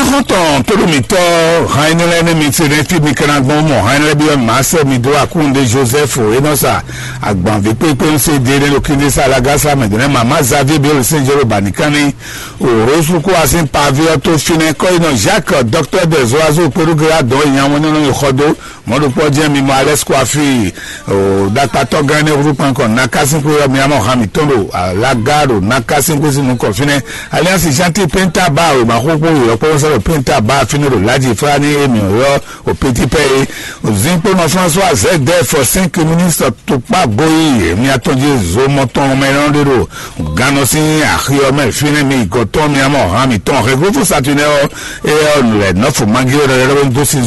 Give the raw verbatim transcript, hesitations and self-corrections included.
Kɔntɔn tóɖomitɔ hàn énɛ́ lɛ́ɛ nɛ́ mi se nɛ́ fí mi kɛ́ ná gbɔn mɔ hàn énɛ́ lɛ́ɛ byɔ́ màá sɛ mi dó akúnde Joseph énɔ́ sa agbanví kpékpé ń se dé nɛ́ ɖo kíndé sa alágásá mɛ dó nɛ́ màmá Xavier Bélé Sɛnjɛ́rò bàníkánní òrósúkú asín paví ɔ́ tó fínɛ́ kɔ́yinɔ Jacques dɔktɔ́ dɛzɔ́ azó kpéɖúgérá dɔn nyamɔ́ nyɔ́nɔ yi xɔ dó mɔ̌ ɖokpɔ́ jẹ́ mi mɔ alɛ́ skwafi ɖakpatɔ́ gán énɛ́ húzú kpankɔ nakásínkú yɔ mi amɔ hàn mǐtɔn ɖo alágá ɖo nakásínkú sín nukɔn fínɛ́. Alliance Gentil Penta ba o ma xóxó yɔ kpɔ́ sɔ́ ɖo Penta ba fínɛ́ ɖo Ladji Fúlani émi yɔ o Petit Pɛ é. Zinkponɔ François Zedef cinq ministre tukpa goyi mi atɔn jí zomɔ tɔn mɛ nɔ ɖe ɖo gannɔ sín axi ɔ́ mɛ fínɛ́ mi gɔtɔn mi amɔ hàn mǐtɔn hɛgúfú Saturnin ɔ́ é ɔ́ lɛ nɔfo mangi ɔ́ ɖɔɖɔɖɔ dó sin